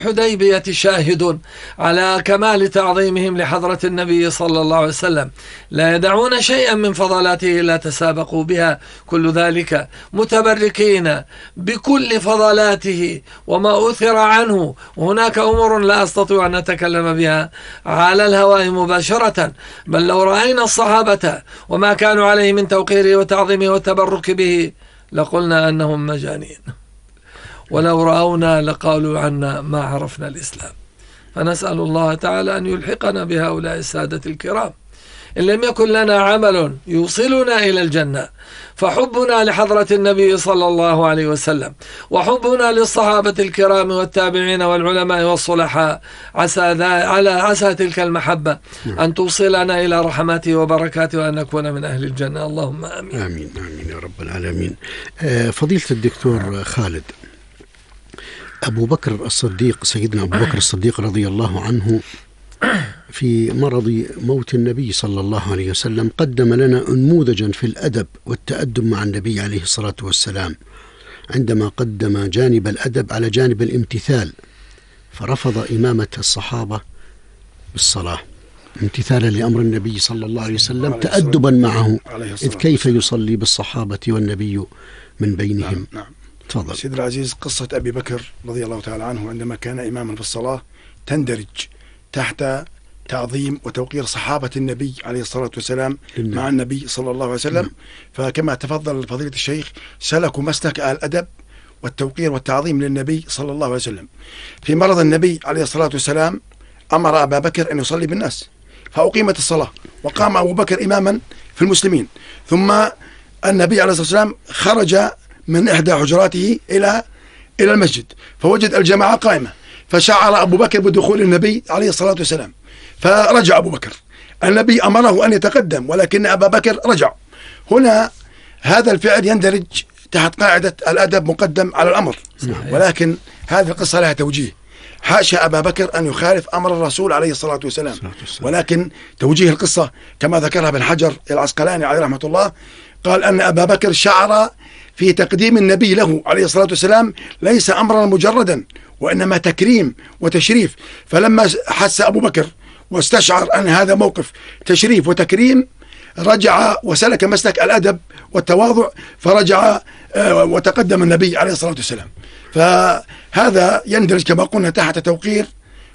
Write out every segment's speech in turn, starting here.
الحديبية شاهد على كمال تعظيمهم لحضرة النبي صلى الله عليه وسلم، لا يدعون شيئا من فضلاته إلا تسابقوا بها، كل ذلك متبركين بكل فضلاته وما أثر عنه. وهناك أمور لا أستطيع أن أتكلم بها على الهواء مباشرة، بل لو رأينا الصحابة وما كانوا عليه من توقيره وتعظيمه والتبرك به لقلنا أنهم مجانين، ولو رأونا لقالوا عنا ما عرفنا الإسلام. فنسأل الله تعالى أن يلحقنا بهؤلاء السادة الكرام. إن لم يكن لنا عمل يوصلنا إلى الجنة فحبنا لحضرة النبي صلى الله عليه وسلم وحبنا للصحابة الكرام والتابعين والعلماء والصلحاء عسى تلك المحبة أن توصلنا إلى رحماته وبركاته وأن نكون من أهل الجنة. اللهم آمين. آمين آمين يا رب العالمين. فضيلة الدكتور خالد، أبو بكر الصديق، سيدنا أبو بكر الصديق رضي الله عنه في مرض موت النبي صلى الله عليه وسلم قدم لنا نموذجا في الأدب والتأدب مع النبي عليه الصلاة والسلام، عندما قدم جانب الأدب على جانب الامتثال، فرفض إمامة الصحابة بالصلاة امتثالا لأمر النبي صلى الله عليه وسلم تأدبا معه، إذ كيف يصلي بالصحابة والنبي من بينهم. نعم. تفضل سيد العزيز. قصة أبي بكر رضي الله تعالى عنه عندما كان إماما في الصلاة تندرج تحت تعظيم وتوقير صحابة النبي عليه الصلاة والسلام مع النبي صلى الله عليه وسلم. فكما تفضل فضيلة الشيخ سلكوا مسلك الأدب والتوقير والتعظيم للنبي صلى الله عليه وسلم. في مرض النبي عليه الصلاة والسلام أمر أبا بكر أن يصلي بالناس، فأقيمت الصلاة وقام أبو بكر إماما في المسلمين، ثم النبي عليه الصلاة والسلام خرج من إحدى حجراته إلى المسجد فوجد الجماعة قائمة، فشعر أبو بكر بدخول النبي عليه الصلاة والسلام، فرجع أبو بكر. النبي أمره أن يتقدم ولكن أبا بكر رجع. هنا هذا الفعل يندرج تحت قاعدة الأدب مقدم على الأمر، ولكن هذه القصة لها توجيه. حاشا أبا بكر أن يخالف أمر الرسول عليه الصلاة والسلام، ولكن توجيه القصة كما ذكرها ابن حجر العسقلاني عليه رحمة الله، قال أن أبا بكر شعر في تقديم النبي له عليه الصلاة والسلام ليس أمرا مجردا وإنما تكريم وتشريف. فلما حس أبو بكر واستشعر أن هذا موقف تشريف وتكريم رجع وسلك مسلك الأدب والتواضع، فرجع وتقدم النبي عليه الصلاة والسلام. فهذا يندرج كما قلنا تحت توقير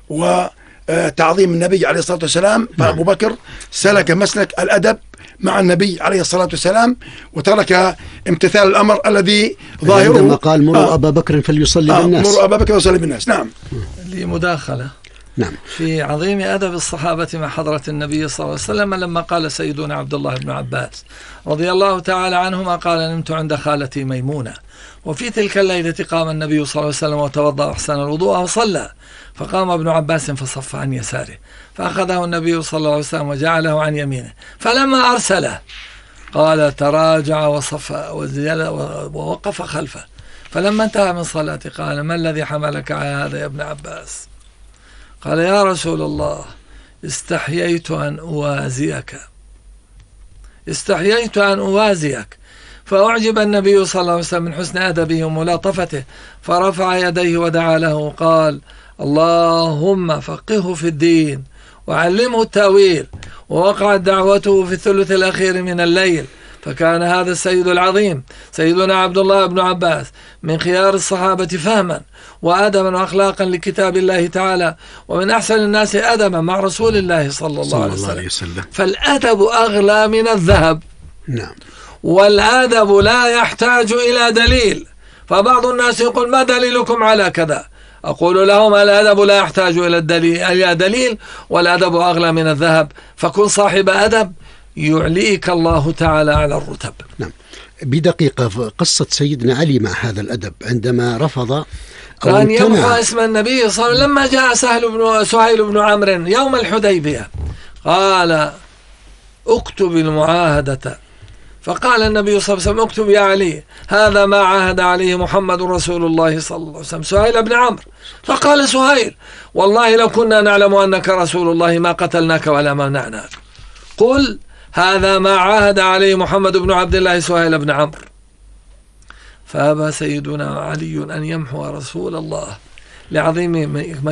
وتعظيم النبي عليه الصلاة والسلام. فأبو بكر سلك مسلك الأدب مع النبي عليه الصلاة والسلام وترك امتثال الأمر الذي ظاهره عندما قال مروا أبا بكر فليصلي بالناس. مروا أبا بكر فليصلي بالناس. نعم. لمداخلة نعم في عظيم أدب الصحابة مع حضرة النبي صلى الله عليه وسلم لما قال سيدنا عبد الله بن عباس رضي الله تعالى عنهما قال: نمت عند خالتي ميمونة وفي تلك الليلة قام النبي صلى الله عليه وسلم وتوضأ أحسن الوضوء وصلى، فقام ابن عباس فصف عن يساره، فأخذه النبي صلى الله عليه وسلم وجعله عن يمينه، فلما أرسله قال: تراجع وصف ووقف خلفه، فلما انتهى من صلاته قال: ما الذي حملك على هذا يا ابن عباس؟ قال: يا رسول الله استحييت أن أوازيك. فأعجب النبي صلى الله عليه وسلم من حسن أدبه وملاطفته، فرفع يديه ودعا له قال: اللهم فقهه في الدين وعلمه التأويل. ووقعت دعوته في الثلث الأخير من الليل، فكان هذا السيد العظيم سيدنا عبد الله بن عباس من خيار الصحابة فهما وأدبا وأخلاقا لكتاب الله تعالى، ومن أحسن الناس أدبا مع رسول الله صلى الله عليه وسلم. فالأدب أغلى من الذهب. نعم. والأدب لا يحتاج إلى دليل. فبعض الناس يقول: ما دليلكم على كذا؟ أقول لهم: الأدب لا يحتاج إلى دليل والأدب أغلى من الذهب. فكن صاحب أدب يعليك الله تعالى على الرتب. نعم. بدقيقة قصة سيدنا علي مع هذا الأدب عندما رفض كان يمحو اسم النبي صلى الله عليه وسلم. لما جاء سهيل بن عمرو يوم الحديبية قال: اكتب المعاهدة، فقال النبي صلى الله عليه وسلم: اكتب يا علي هذا ما عاهد عليه محمد رسول الله صلى الله عليه وسلم. سهيل بن عمرو، فقال سهيل: والله لو كنا نعلم أنك رسول الله ما قتلناك ولا منعناك. قل هذا ما عاهد عليه محمد بن عبد الله سهيل بن عمرو. فأبى سيدنا علي أن يمحو رسول الله لعظيم